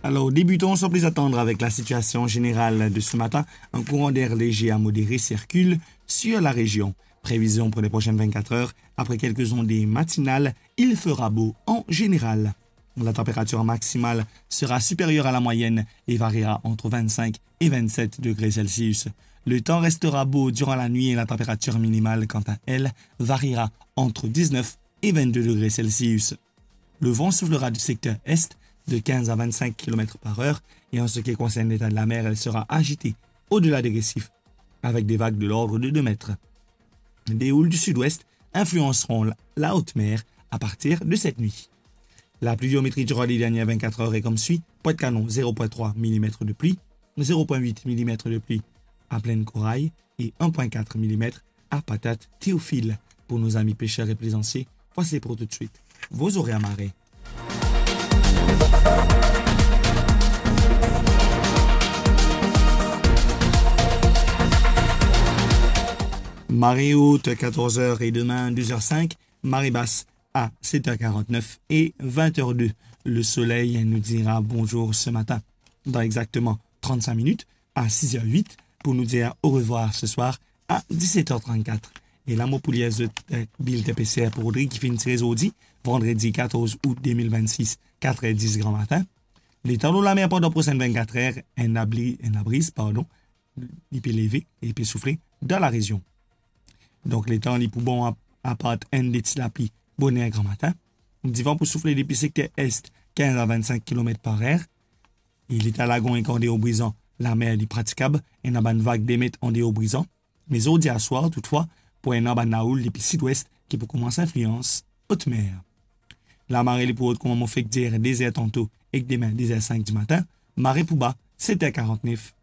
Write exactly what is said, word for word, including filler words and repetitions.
Alors, débutons sans plus attendre avec la situation générale de ce matin. Un courant d'air léger à modéré circule sur la région. Prévision pour les prochaines vingt-quatre heures, après quelques ondées matinales, il fera beau en général. La température maximale sera supérieure à la moyenne et variera entre vingt-cinq et vingt-sept degrés Celsius. Le temps restera beau durant la nuit et la température minimale, quant à elle, variera entre dix-neuf et vingt-deux degrés Celsius. Le vent soufflera du secteur est de quinze à vingt-cinq kilomètres par heure et en ce qui concerne l'état de la mer, elle sera agitée au-delà des récifs avec des vagues de l'ordre de deux mètres. Des houles du sud-ouest influenceront la, la haute mer à partir de cette nuit. La pluviométrie durant les dernières vingt-quatre heures est comme suit. Pointe-Canon, zéro point trois millimètres de pluie, zéro point huit millimètres de pluie à Plaine Corail et un point quatre millimètres à Patate Théophile. Pour nos amis pêcheurs et plaisanciers, voici pour tout de suite vos horaires marée. Marée haute, quatorze heures et demain, douze heures cinq. Marée basse à sept heures quarante-neuf et vingt heures deux. Le soleil nous dira bonjour ce matin. Dans exactement trente-cinq minutes, à six heures huit, pour nous dire au revoir ce soir à dix-sept heures trente-quatre. E la mo pou lir zot, eh, bilten P C R pou Rodrig ki finn tire zordi, vandredi quatorze août deux mille vingt-six, quatre heures dix grand matin. Letan lor lamer pandan prosenn vingt-quatre heures, enn labri, enn labriz, pardon, li pe leve e li pe soufle dan larezion. Donk, letan li pou bon a, apart enn de ti lapli boner gran matin. Divan pou soufle depi sekter est, quinze à vingt-cinq kilomètres par heure. E letan lagon ek andeor Brizan, lamer li pratikab, ena bann vag de met andeor Brizan. Me zordi aswar, toutfwa, pou ena bann lahoul depi sidwest ki pou koumans inflians otmer. Lamare li pou rod kouma mo fek dir, de zer tanto ek demin de zer sink dimatin, mare pou ba, set er karant-nef